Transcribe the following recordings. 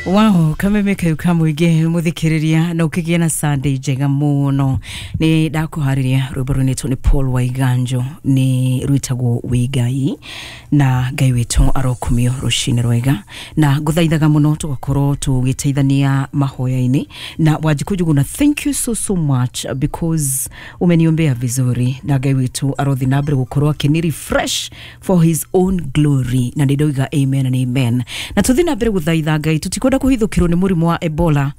Wow, kameme kau kamwige muthikiriria na ukigia na Sunday njega muno. Ni ndakuhariria rwimbo rwinitwo ni Paul Waiganjo, ni rwitagwo Wĩ Ngai, na Ngai witũ arokumio rucini rwega, na nguthaithaga muno tugakorwo tugiteithania mahoya-inĩ. Na Wanjikũ Njuguna, thank you so so much because umeniombea vizuri, na Ngai witũ arothi na mbere gukorwo akini refresh for his own glory, na nĩ amen and amen. Na tuthi na mbere guthaitha Ngai tutikwenda kuhithukirwo ni murimu wa Ebola.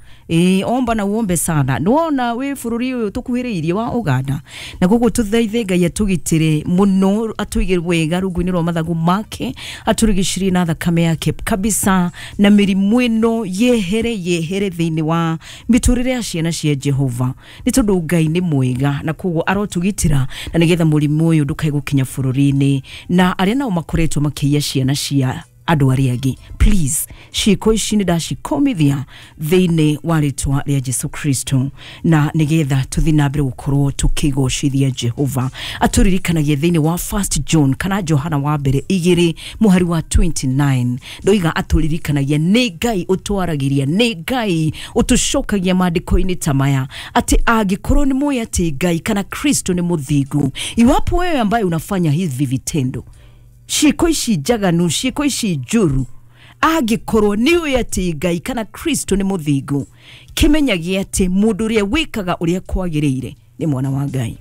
Omba na uombe sana. Nĩwona wĩ bũrũri ũyũ tũkuhĩrĩirie wa Uganda, na koguo tuthaithe Ngai atũgitĩre mũno, atũige wega rungu-inĩ rwa mathagu make, atũrigicĩrie na thakame yake kabisa, na mĩrimũ ĩno yehere yehere thĩinĩ wa mĩtũrĩre ya ciana cia Jehova, nĩ tondũ Ngai nĩ mwega, na koguo arotũgitĩra na nĩgetha mũrimũ ũyũ ndũkae gũkinya bũrũri-inĩ. Na arĩa nao makoretwo makĩiya ciana cia andũ arĩa angĩ, please, ciĩko ici nĩ ndacikomithia thĩinĩ wa rĩtwa rĩa Jesu Kristo, na nĩgetha tũthiĩ na mbere gũkorwo tũkĩgocithia Jehova. Atũririkanagia thĩinĩ wa First John kana Johana wa mbere 2 mũhari wa 29, ndoiga atũririkanagia nĩ Ngai ũtwaragĩria, nĩ Ngai ũtũcokagia maandĩko-inĩ ta maya, atĩ angĩkorwo nĩ mũĩ atĩ Ngai kana Kristo nĩ mũthingu, iwapo wewe ambaye unafanya hivi vitendo, ciĩko ici njaganu, ciĩko ici njũru, angĩkorwo nĩ ũĩ atĩ Ngai kana Kristo nĩ mũthingu, kĩmenyagie atĩ mũndũ ũrĩa wĩkaga ũrĩa kwagĩrĩire nĩ mwana wa Ngai.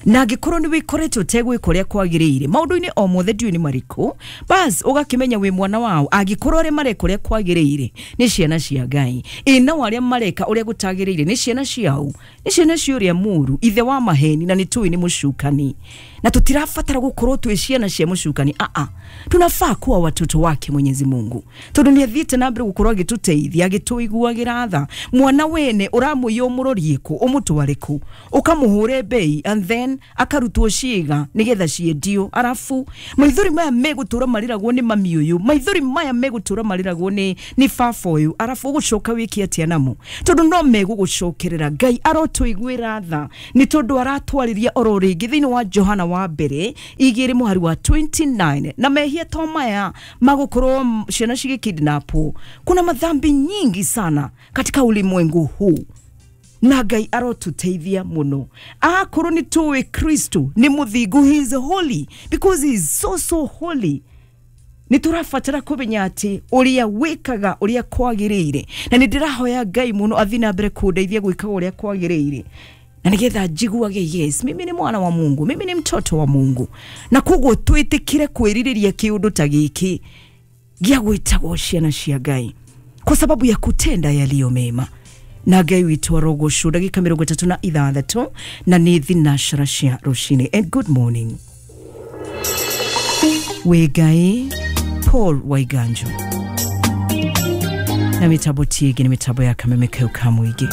Na angĩkorwo nĩ wĩkoretwo ũtegwĩka ũrĩa kwagĩrĩire maũndũ-inĩ o mothe, ndiũĩ nĩ marĩkũ, bas ũgakĩmenya wĩ mwana wao. Angĩkorwo arĩa mareka ũrĩa kwagĩrĩire nĩ ciana cia Ngai, ĩ nao arĩa mareka ũrĩa gũtagĩrĩire nĩ ciana ciao, nĩ ciana cia ũrĩa mũũru, ithe wa maheni, na nĩ tũĩ nĩ mũcukani. Na tutirabatara gukorwo twĩ ciana cia mũcukani, a tunafaa kuwa watoto wake Mwenyezi Mungu, tondu nĩ athiĩte na mbere gukorwo agĩtũteithia, agĩtũiguagĩra tha. Mwana wene ũramũiya ũmũrorie kũ, ũmũtware kũ, ũkamũhũre bei, and then akarutwo ciĩga nĩgetha ciendio, arabu maithori maya megũtũra marĩragwo nĩ mami ũyũ, maithori maya megũtũra marĩragwo nĩ baba ũyũ, arabu ũgũcoka wĩke atĩa namo? Tondũ no megũgũcokerera. Ngai arotũiguĩra tha, nĩ tondũ aratwarĩria oro rĩngĩ thĩinĩ wa Johana wa mbere 2 mũhari wa 29, na mehia to maya magũkorwo ciana cigĩkidnapwo, kuna madhambi nyingi sana katika ulimwengu huu, na Ngai arotuteithia muno. Akorwo nĩ tũĩ Kristo nĩ mũthingu, he is holy because he is so so holy, nĩ tũrabatara kũmenya atĩ ũrĩa wĩkaga ũrĩa kwagĩrĩire, na nĩ ndĩrahoya Ngai mũno athiĩ na mbere kũndeithia gwĩkaga ũrĩa kwagĩrĩire, na nĩgetha njiguage yes, mimi ni mwana wa Mungu, mimi ni mtoto wa Mungu. Na koguo twĩtĩkire kwĩrirĩria kĩũndũ ta gĩkĩ gĩa gwĩtagwo ciana cia Ngai kwa sababu ya kutenda yaliyo mema. Na Ngai witũ arogocwo. Ndagĩka 36 na nĩ thinashara cia rũcinĩ. And good morning. Wĩ Ngai, Paul Waiganjo, na mĩtambo tiĩngĩ nĩ mĩtambo ya kameme kau ka mũingĩ.